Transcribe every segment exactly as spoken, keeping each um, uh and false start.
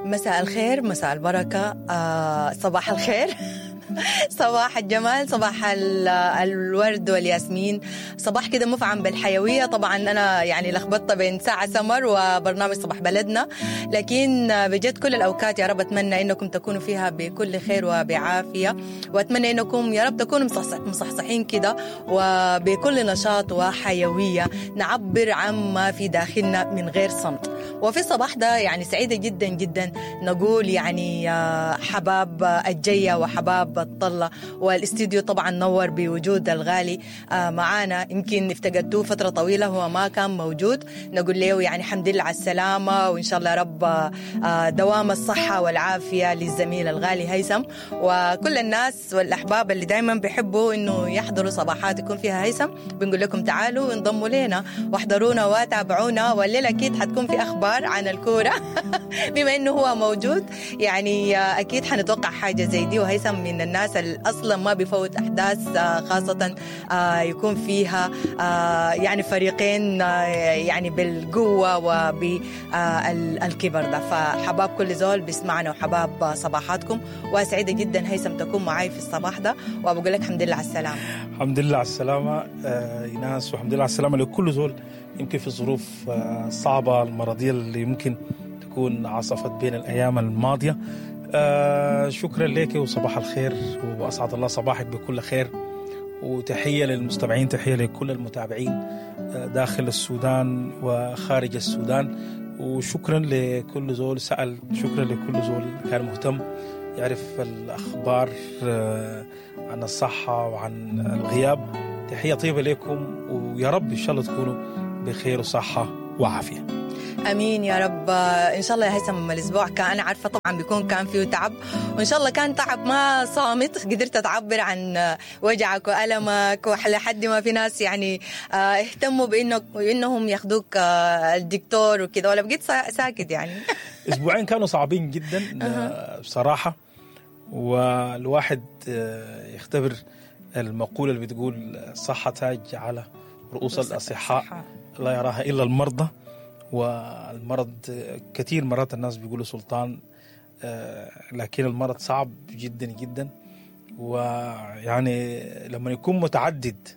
مساء الخير، مساء البركة، آه صباح الخير، صباح الجمال، صباح الورد والياسمين، صباح كده مفعم بالحيوية. طبعا أنا يعني لخبطت بين ساعة سمر وبرنامج صباح بلدنا، لكن بجد كل الأوقات يا رب أتمنى إنكم تكونوا فيها بكل خير وبعافية، وأتمنى إنكم يا رب تكونوا مصحصحين كده وبكل نشاط وحيوية نعبر عما في داخلنا من غير صمت. وفي الصباح ده يعني سعيدة جدا جدا نقول يعني حباب الجية وحباب الطلة، والاستديو طبعا نور بوجود الغالي معانا. يمكن افتقدتوه فترة طويلة، هو ما كان موجود، نقول له يعني الحمد لله على السلامة، وإن شاء الله رب دوام الصحة والعافية للزميل الغالي هيثم وكل الناس والأحباب اللي دايما بيحبوا إنه يحضروا صباحات يكون فيها هيثم. بنقول لكم تعالوا وانضموا لنا واحضرونا وتابعونا، والليلة أكيد حتكون في أخبار عن الكورة بما إنه هو موجود، يعني أكيد حنتوقع حاجة زي دي. وهيثم من الناس اللي أصلا ما بيفوت أحداث، خاصة يكون فيها يعني فريقين يعني بالقوة وبالكبر ده. فحباب كل زول بيسمعنا وحباب صباحاتكم، وسعيدة جدا هيثم تكون معي في الصباح ده، وبقول لك الحمد لله على السلامة. الحمد لله على السلامة إيناس، والحمد لله على السلامة لكل زول يمكن في ظروف صعبة المرضية اللي يمكن تكون عصفت بين الأيام الماضية. آه شكرا لك وصباح الخير، وأسعد الله صباحك بكل خير، وتحية للمستمعين، تحية لكل المتابعين داخل السودان وخارج السودان، وشكرا لكل زول سأل، شكرا لكل زول كان مهتم يعرف الأخبار عن الصحة وعن الغياب. تحية طيبة لكم، ويا رب إن شاء الله تكونوا بخير وصحة وعافية. امين يا رب. ان شاء الله يا هيثم الاسبوع كان، انا عارفه طبعا بيكون كان فيه تعب، وان شاء الله كان تعب ما صامت، قدرت تعبر عن وجعك والمك، ولحد ما في ناس يعني اهتموا بانك وانهم ياخذوك الدكتور وكده، ولا بقيت ساكت يعني؟ اسبوعين كانوا صعبين جدا بصراحة، والواحد يختبر المقولة اللي بتقول الصحة تاج على رؤوس الاصحاء لا يراها الا المرضى. والمرض كثير مرات الناس بيقولوا سلطان، لكن المرض صعب جدا جدا، ويعني لما يكون متعدد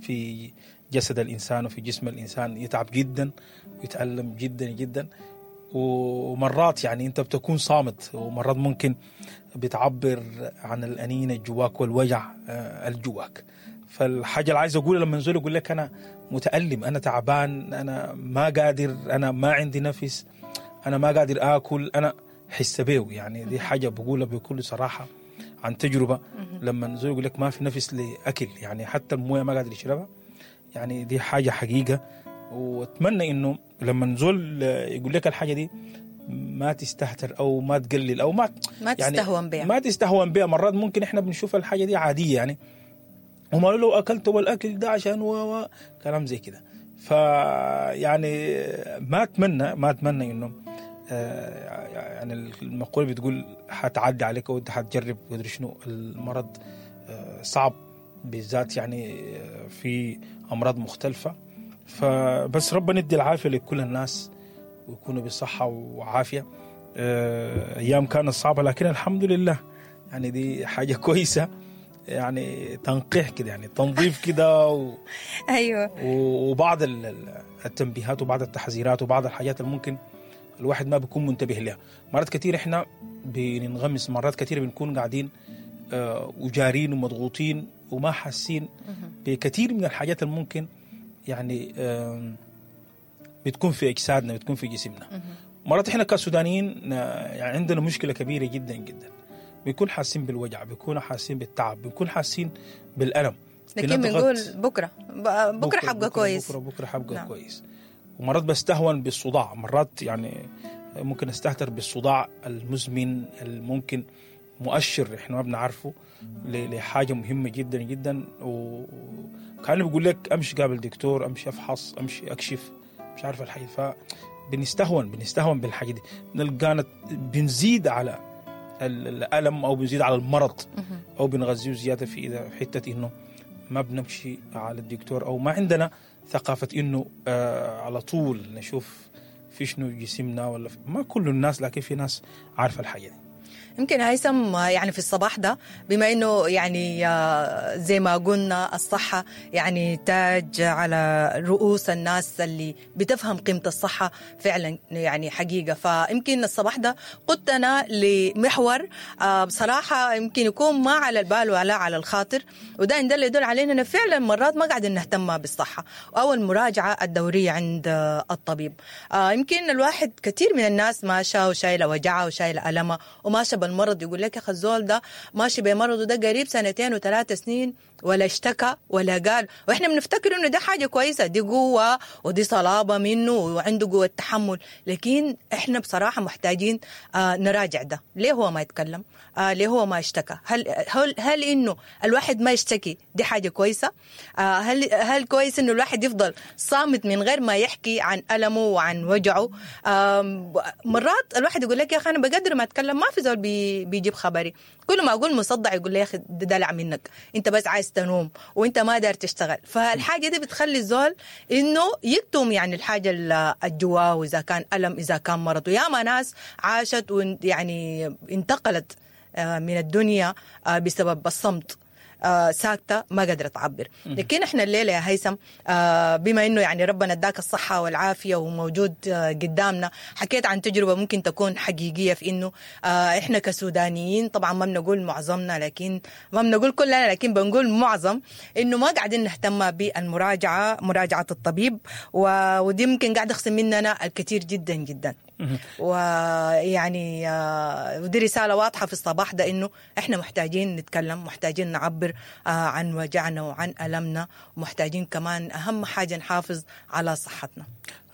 في جسد الإنسان وفي جسم الإنسان يتعب جدا ويتألم جدا جدا، ومرات يعني أنت بتكون صامت، ومرات ممكن بتعبر عن الأنين الجواك والوجع الجواك. فالحاجة اللي عايز أقولها لما نزول يقول لك أنا متألم، أنا تعبان، أنا ما قادر، أنا ما عندي نفس، أنا ما قادر آكل، أنا حس بيه، يعني دي حاجة بقولها بكل صراحة عن تجربة. لما نزول يقول لك ما في نفس لأكل، يعني حتى الموية ما قادر يشربها، يعني دي حاجة حقيقة. وأتمنى إنه لما نزول يقول لك الحاجة دي ما تستهتر أو ما تقلل أو ما ما تستهون بها، ما تستهون بها. مرات ممكن إحنا بنشوف الحاجة دي عادية يعني، وما لو أكلت والأكل ده عشان و كلام زي كده. فيعني ما أتمنى ما أتمنى إنه يعني المقولة بتقول حتعدي عليك وأنت حتجرب وأدري شنو. المرض صعب بالذات يعني في أمراض مختلفة، فبس ربنا يدي العافية لكل الناس ويكونوا بصحة وعافية. أيام كانت صعبة لكن الحمد لله، يعني دي حاجة كويسة، يعني تنقيح كده، يعني تنظيف كده و... ايوه، وبعض التنبيهات وبعض التحذيرات وبعض الحاجات اللي ممكن الواحد ما بيكون منتبه لها. مرات كتير احنا بننغمس، مرات كتير بنكون قاعدين وجارين ومضغوطين وما حاسين بكثير من الحاجات اللي ممكن يعني بتكون في اجسادنا، بتكون في جسمنا. مرات احنا كسودانيين يعني عندنا مشكلة كبيرة جدا جدا، بيكون حاسين بالوجع، بيكون حاسين بالتعب، بيكون حاسين بالألم، لكن بنقول بكرة بكرة, بكرة حبقى كويس، بكرة بكرة حبقى نعم. كويس. ومرات بستهون بالصداع، مرات يعني ممكن استهتر بالصداع المزمن الممكن مؤشر احنا ما بنعرفه لحاجة مهمة جدا جدا، وكان بيقول لك امشي قابل دكتور، امشي افحص، امشي اكشف، مش عارف الحاجة. فبنستهون بنستهون بالحاجة دي، نلقانا بنزيد على الألم أو بنزيد على المرض أو بنغذيه زيادة في إذا حتة إنه ما بنمشي على الدكتور أو ما عندنا ثقافة إنه آه على طول نشوف في شنو جسمنا ولا في، ما كل الناس، لكن في ناس عارفه الحاجة دي. يمكن هيثم يعني في الصباح ده، بما انه يعني زي ما قلنا الصحة يعني تاج على رؤوس الناس اللي بتفهم قيمة الصحة فعلا يعني حقيقة، فيمكن الصباح ده قدتنا لمحور بصراحة يمكن يكون ما على البال ولا على الخاطر، وده إن ده اللي يدل علينا انه فعلا مرات ما قاعدين نهتم بالصحة او المراجعة الدورية عند الطبيب. يمكن الواحد كثير من الناس ماشى وشايله وجعه وشايله ألمه وماشى بالمرض، يقول لك يا اخي الزول ده ماشي بمرضه ده قريب سنتين وثلاث سنين ولا اشتكى ولا قال، واحنا بنفتكر انه ده حاجة كويسة، دي قوة ودي صلابة منه وعنده قوة تحمل، لكن احنا بصراحة محتاجين آه نراجع ده، ليه هو ما يتكلم؟ آه ليه هو ما اشتكى؟ هل هل هل انه الواحد ما يشتكي دي حاجة كويسة؟ آه هل هل كويس انه الواحد يفضل صامت من غير ما يحكي عن ألمه وعن وجعه؟ آه مرات الواحد يقول لك يا اخي انا بقدر ما اتكلم ما في زول بي بيجيب خبري، كل ما اقول مصدع يقول لي يا اخي ده دلع منك، انت بس عايز تنوم وانت ما دار تشتغل. فالحاجه دي بتخلي الزول انه يكتم يعني الحاجة الجواه، واذا كان الم اذا كان مرض. وياما ناس عاشت ويعني انتقلت من الدنيا بسبب الصمت، آه ساكتة ما قادرة تعبر. لكن احنا الليلة يا هيثم آه بما انه يعني ربنا اداك الصحة والعافية وموجود آه قدامنا، حكيت عن تجربة ممكن تكون حقيقية في انه آه احنا كسودانيين، طبعا ما بنقول معظمنا، لكن ما بنقول كلنا، لكن بنقول معظم، انه ما قاعدين نهتم بالمراجعة، مراجعة الطبيب، ودي ممكن قاعد يخصم مننا الكثير جدا جدا. ويعني ودي رسالة واضحة في الصباح ده، إنه إحنا محتاجين نتكلم، محتاجين نعبر عن وجعنا وعن ألمنا، ومحتاجين كمان أهم حاجة نحافظ على صحتنا.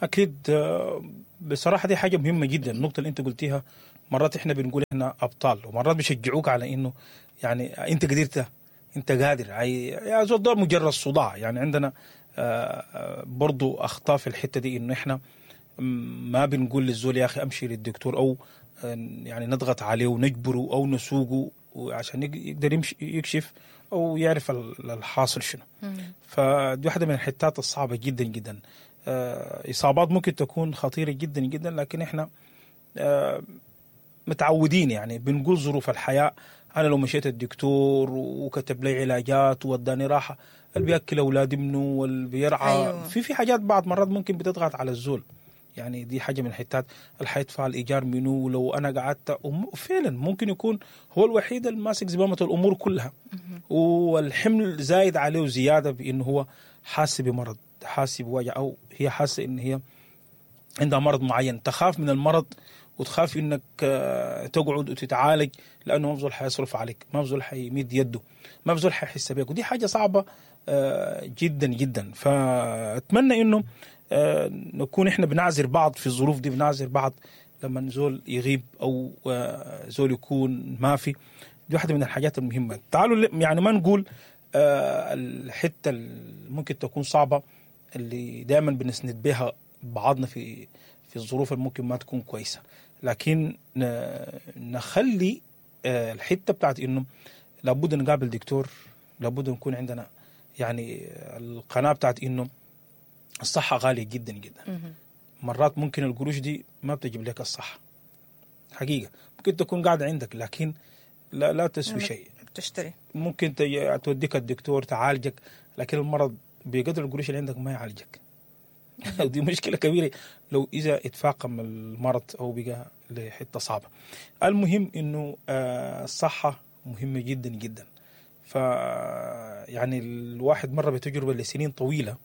أكيد بصراحة دي حاجة مهمة جدا، النقطة اللي أنت قلتيها. مرات إحنا بنقول إحنا أبطال، ومرات بيشجعوك على إنه يعني أنت قدرت، أنت قادر، يا زول ده مجرد صداع. يعني عندنا برضو أخطاء في الحتة دي، إنه إحنا ما بنقول للزول يا أخي أمشي للدكتور، أو يعني نضغط عليه ونجبره أو نسوقه عشان يقدر يمشي يكشف أو يعرف الحاصل شنو. فدي واحدة من الحتات الصعبة جدا جدا. إصابات ممكن تكون خطيرة جدا جدا، لكن إحنا متعودين يعني بنقول ظروف الحياة. أنا لو مشيت الدكتور وكتب لي علاجات ووداني راحة، اللي بيأكل أولادي منه واللي بيرعى. أيوة. في في حاجات بعض مرات ممكن بتضغط على الزول، يعني دي حاجة من الحتات اللي حيدفع الإيجار منه، ولو أنا قعدت فعلا ممكن يكون هو الوحيد الماسك زمامة الأمور كلها، والحمل زايد عليه زيادة بأنه هو حاسس بمرض، حاسس بوجع، أو هي حاسة إن هي عندها مرض معين، تخاف من المرض وتخاف إنك تقعد وتتعالج، لأنه ما بزول حيصرف عليك، ما بزول حيمد يده، ما بزول حيحس بيك، ودي حاجة صعبة جدا جدا. فأتمنى إنه نكون إحنا بنعذر بعض في الظروف دي، بنعذر بعض لما زول يغيب أو زول يكون ما في. دي واحدة من الحاجات المهمة. تعالوا يعني ما نقول الحتة اللي ممكن تكون صعبة اللي دائما بنسند بها بعضنا في في الظروف اللي ممكن ما تكون كويسة، لكن نخلي الحتة بتاعت إنه لابد نقابل دكتور، لابد نكون عندنا يعني القناة بتاعت إنه الصحة غالية جدا جدا. مرات ممكن القروش دي ما بتجيب لك الصحة حقيقة، ممكن تكون قاعدة عندك لكن لا لا تسوي شيء، تشتري ممكن توديك الدكتور تعالجك، لكن المرض بقدر القروش اللي عندك ما يعالجك. دي مشكلة كبيرة لو إذا اتفاقم المرض أو بقى لحتة صعبة. المهم إنه الصحة مهمة جدا جدا. ف يعني الواحد مر بتجربة لسنين طويلة،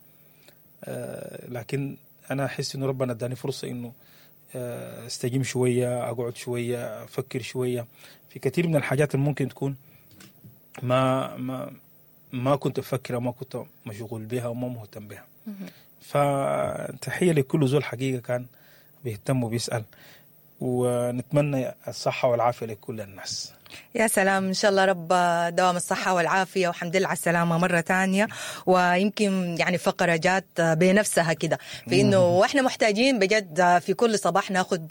لكن أنا أحس إنه ربنا اداني فرصة إنه استجيم شوية، أقعد شوية، أفكر شوية في كثير من الحاجات اللي ممكن تكون ما ما ما كنت أفكر وما كنت مشغول بها وما مهتم بها. فتحية لكل زول حقيقة كان بيهتم وبيسأل، ونتمنى الصحة والعافية لكل الناس. يا سلام، إن شاء الله رب دوام الصحة والعافية وحمد لله على السلامة مرة تانية. ويمكن يعني فقرة جات بنفسها كده في إنه وإحنا محتاجين بجد في كل صباح ناخد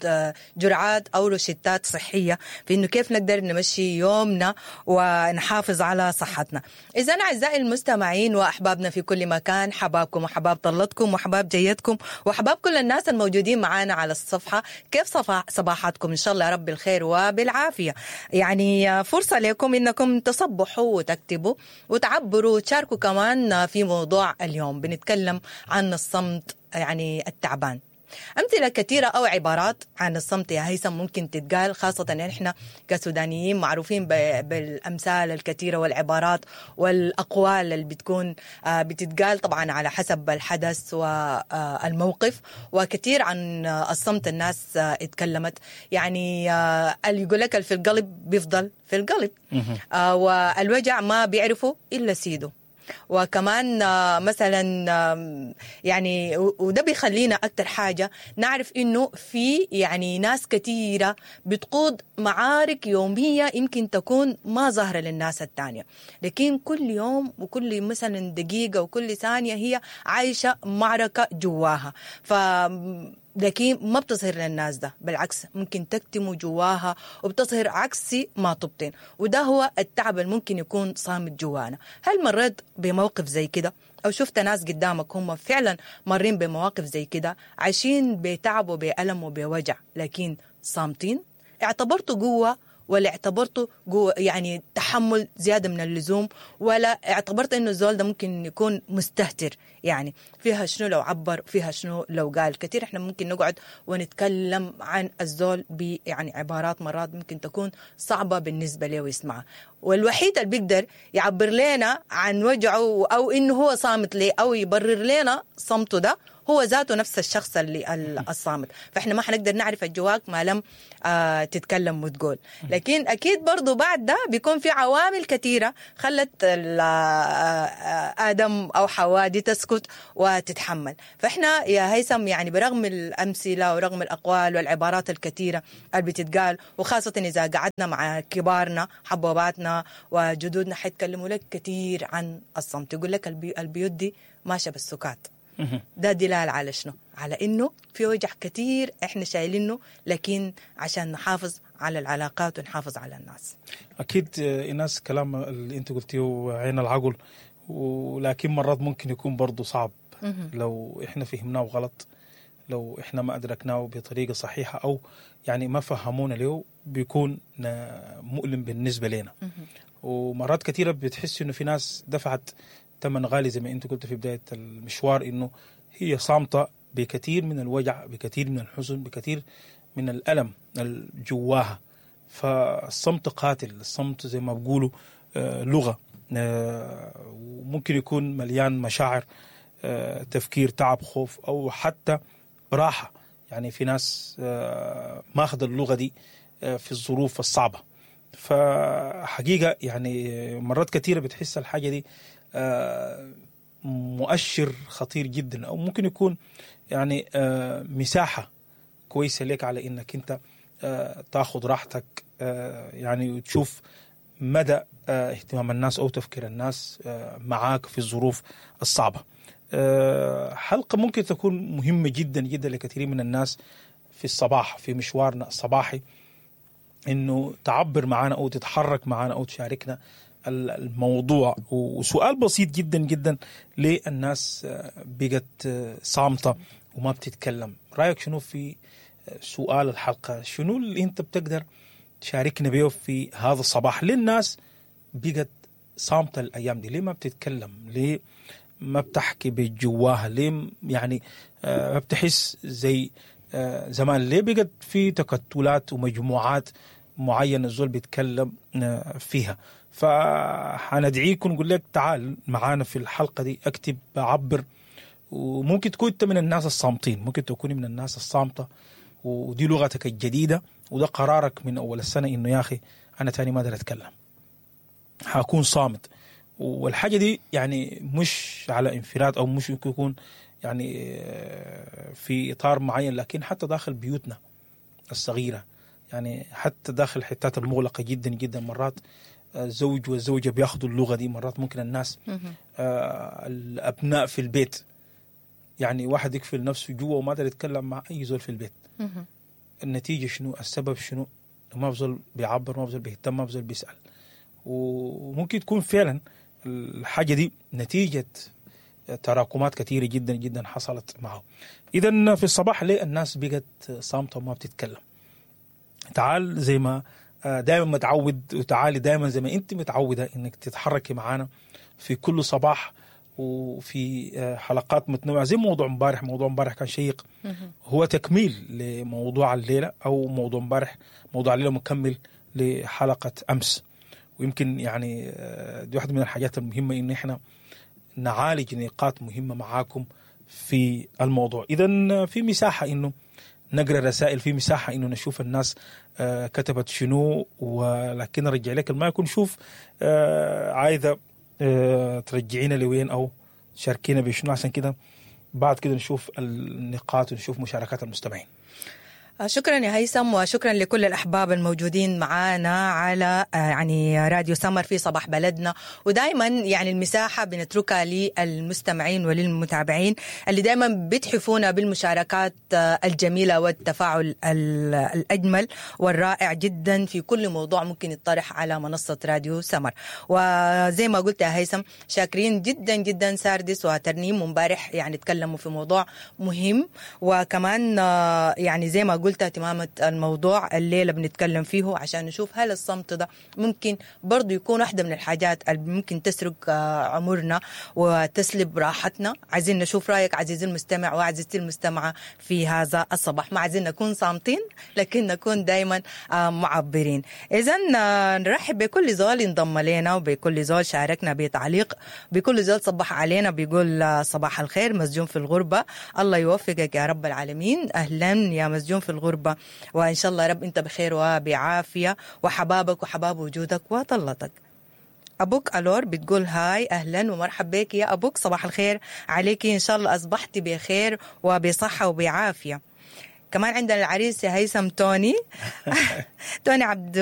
جرعات أو روشتات صحية في إنه كيف نقدر نمشي يومنا ونحافظ على صحتنا. إذا أعزائي المستمعين وأحبابنا في كل مكان، حبابكم وحباب طلتكم وحباب جيتكم وحباب كل الناس الموجودين معانا على الصفحة، كيف صباحاتكم؟ إن شاء الله يا رب الخير وبالعافية. يعني فرصة لكم إنكم تصبحوا وتكتبوا وتعبروا وتشاركوا كمان في موضوع اليوم. بنتكلم عن الصمت يعني التعبان. أمثلة كثيرة أو عبارات عن الصمت يا هيثم ممكن تتقال، خاصة إن إحنا كسودانيين معروفين بالأمثال الكثيرة والعبارات والأقوال اللي بتكون بتتقال طبعا على حسب الحدث والموقف. وكثير عن الصمت الناس اتكلمت، يعني اللي يقول لك في القلب بيفضل في القلب، والوجع ما بيعرفه إلا سيده. وكمان مثلا يعني وده بيخلينا أكتر حاجة نعرف إنه في يعني ناس كثيرة بتقود معارك يومية يمكن تكون ما ظاهرة للناس التانية، لكن كل يوم وكل مثلا دقيقة وكل ثانية هي عايشة معركة جواها، ف لكن ما بتظهر للناس ده، بالعكس ممكن تكتم جواها وبتظهر عكس ما تبطن، وده هو التعب اللي ممكن يكون صامت جوانا. هل مريت بموقف زي كده أو شفت ناس قدامك هم فعلا مرين بمواقف زي كده، عايشين بتعب وبألم وبوجع لكن صامتين؟ اعتبرته قوة ولا اعتبرته قوة يعني تحمل زيادة من اللزوم، ولا اعتبرت إنه الزول ده ممكن يكون مستهتر؟ يعني فيها شنو لو عبر، فيها شنو لو قال؟ كثير احنا ممكن نقعد ونتكلم عن الزول ب يعني عبارات مرات ممكن تكون صعبة بالنسبة له ويسمعها، والوحيد اللي بيقدر يعبر لنا عن وجعه أو إنه هو صامت ليه أو يبرر لنا صمته ده هو ذاته نفس الشخص اللي الصامت. فإحنا ما حنقدر نعرف الجواك ما لم آه تتكلم وتقول. لكن أكيد برضو بعد ده بيكون في عوامل كثيرة خلت آدم أو حواء دي تسكت وتتحمل. فإحنا يا هيثم يعني برغم الأمثلة ورغم الأقوال والعبارات الكثيرة اللي بتتقال، وخاصة إذا قعدنا مع كبارنا حبوباتنا وجدودنا حيتكلموا لك كثير عن الصمت، يقول لك البي البيوت دي ماشية بالسكات. ده دلال على شنو؟ على إنه في وجع كتير إحنا شايلينه، لكن عشان نحافظ على العلاقات ونحافظ على الناس. أكيد إيناس كلام اللي أنت قلتيه عين العقل، ولكن مرات ممكن يكون برضو صعب لو إحنا فهمناه غلط، لو إحنا ما أدركناه بطريقة صحيحة أو يعني ما فهمونا له، بيكون مؤلم بالنسبة لنا. ومرات كثيرة بتحس إنه في ناس دفعت ثمن غالي زي ما انت قلت في بداية المشوار، انه هي صامتة بكثير من الوجع، بكثير من الحزن، بكثير من الألم الجواها. فالصمت قاتل، الصمت زي ما بقولوا لغة، وممكن يكون مليان مشاعر، تفكير، تعب، خوف، أو حتى راحة. يعني في ناس ماخذ اللغة دي في الظروف الصعبة. فحقيقة يعني مرات كثيرة بتحس الحاجة دي مؤشر خطير جدا، أو ممكن يكون يعني مساحة كويسة لك على إنك أنت تاخد راحتك، يعني وتشوف مدى اهتمام الناس أو تفكير الناس معاك في الظروف الصعبة. حلقة ممكن تكون مهمة جدا جدا لكثير من الناس في الصباح، في مشوارنا الصباحي، إنه تعبر معنا أو تتحرك معنا أو تشاركنا الموضوع. وسؤال بسيط جدا جدا، ليه الناس بقت صامتة وما بتتكلم؟ رأيك شنو في سؤال الحلقة؟ شنو اللي انت بتقدر تشاركنا بيه في هذا الصباح؟ ليه الناس بقت صامتة الأيام دي؟ ليه ما بتتكلم؟ ليه ما بتحكي بجواها؟ ليه يعني ما بتحس زي زمان؟ ليه بقت في تكتلات ومجموعات معينة الزول بيتكلم فيها؟ فحندعيكم نقول لك تعال معانا في الحلقة دي، اكتب، عبر. وممكن تكون انت من الناس الصامتين، ممكن تكوني من الناس الصامتة، ودي لغتك الجديدة، وده قرارك من أول السنة إنه يا أخي أنا تاني ما أقدر أتكلم، هكون صامت. والحاجة دي يعني مش على انفراد أو مش يكون يعني في إطار معين، لكن حتى داخل بيوتنا الصغيرة. يعني حتى داخل الحتات المغلقة جدا جدا مرات الزوج والزوجة بياخدوا اللغة دي، مرات ممكن الناس آه الأبناء في البيت، يعني واحد يقفل نفسه جوا وما قادر يتكلم مع أي زول في البيت. النتيجة شنو؟ السبب شنو؟ ما بزول بيعبر، ما بزول بيهتم، ما بزول بيسأل. وممكن تكون فعلا الحاجة دي نتيجة تراكمات كثيرة جدا جدا حصلت معه. إذا في الصباح ليه الناس بقت صامتة وما بتتكلم؟ تعال زي ما دائما متعود، وتعالي دائما زي ما انت متعودة انك تتحركي معانا في كل صباح وفي حلقات متنوعة زي موضوع امبارح. موضوع امبارح كان شيق، هو تكميل لموضوع الليلة، أو موضوع امبارح موضوع الليلة مكمل لحلقة أمس. ويمكن يعني دي واحدة من الحاجات المهمة إن إحنا نعالج نقاط مهمة معاكم في الموضوع. إذن في مساحة إنه نقرأ رسائل، في مساحة إنه نشوف الناس كتبت شنو، ولكن رجع لك المايك ونشوف عايزة ترجعينا لوين أو شاركينا بشنو، عشان كده بعد كده نشوف النقاط ونشوف مشاركات المستمعين. شكرا يا هيثم، وشكرا لكل الأحباب الموجودين معنا على يعني راديو سمر في صباح بلدنا. ودائما يعني المساحة بنتركها للمستمعين وللمتابعين اللي دائما بتحفونا بالمشاركات الجميلة والتفاعل الأجمل والرائع جدا في كل موضوع ممكن يطرح على منصة راديو سمر. وزي ما قلت يا هيثم، شاكرين جدا جدا ساردس وترنيم امبارح يعني تكلموا في موضوع مهم، وكمان يعني زي ما قلت تمامة الموضوع الليلة بنتكلم فيه عشان نشوف هل الصمت ده ممكن برضو يكون واحدة من الحاجات اللي ممكن تسرق عمرنا وتسلب راحتنا. عايزين نشوف رأيك عزيزي المستمع وعزيزتي المستمعة في هذا الصباح. ما عايزين نكون صامتين لكن نكون دايما معبرين. إذن نرحب بكل زول انضم لنا، وبكل زول شاركنا بتعليق، بكل زول صبح علينا بيقول صباح الخير مسجون في الغربة، الله يوفقك يا رب العالمين. أهلا يا مسجون في الغربة، وإن شاء الله رب أنت بخير وبعافية، وحبابك وحباب وجودك وطلتك. أبوك ألور بتقول هاي، أهلا ومرحب بك يا أبوك، صباح الخير عليك، إن شاء الله أصبحتي بخير وبصحة وبعافية. كمان عندنا العريس يا هيثم توني توني عبد